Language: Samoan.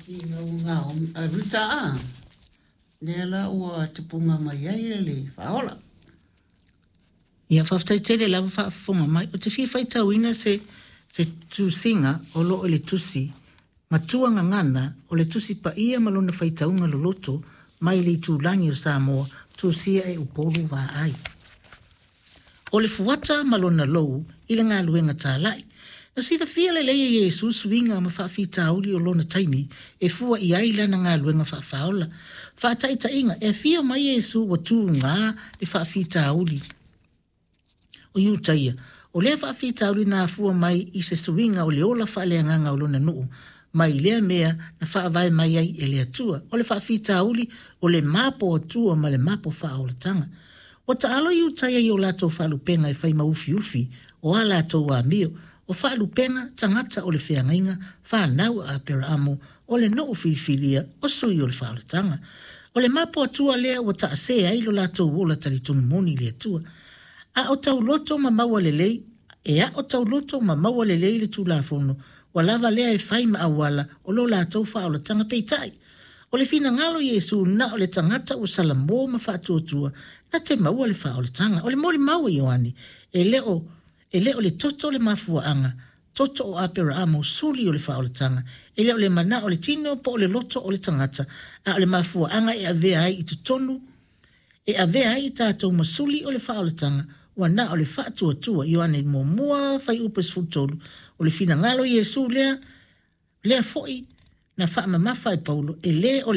Ina ua Rita a, lea la ua tupuga mai ai le Faaola. Ia, faafetai tele lava faafofoga mai. Ou te fia faitauina se se tusiga o lo o i le tusi Matua Gagana o le Tusi Paia ma lona faitauga loloto mai le Itulagi o Samoa, tusia e Upolu Vaai. O le fuata ma lona lou i le galuega talai. Na silafia lelei e Iesu suiga ma faafitauli o lona taimi e fua i ai lana galuega faafaaola. Faataitaiga, e afio mai Iesu ua tuga le faafitauli o Iutaia. O lea faafitauli na afua mai i se suiga o le ola faaleagaga o lona nuu mai lea mea na faavae mai ai e le Atua. O le faafitauli o le mapo Atua ma le mapo faaolataga. Ua taalo Iutaia i o latou faalupega e fai ma ufiufi o a latou amio. O faalupega tagata o le feagaiga, fanau a Aperaamo, o le nuu filifilia, o sui o le faaolataga. O le mapo Atua lea ua taasē ai lo latou ola talitonu moni i le Atua. A o tauloto ma maua lelei, e aʻo tauloto ma maua lelei le Tulafono, ua lava lea e fai ma auala o lo latou faaolataga. Peitai, o le finagalo o Iesu na o le tagata ua salamo ma faatuatua na te maua le faaolataga. O le molimau a Ioane, e le o e le o le toto le mafuaaga, toto o Aperaamo, suli o le faaolataga. E le o le manao o le tino po o le loto o le tagata, a o le mafuaaga e avea ai i totonu e avea ai i tatou ma suli o le faaolataga, ua na o le faatuatua. Ioane 1, fuaiupu 13. O le finagalo o Iesu lea, lea foi na faamamafa e Paulo, e le o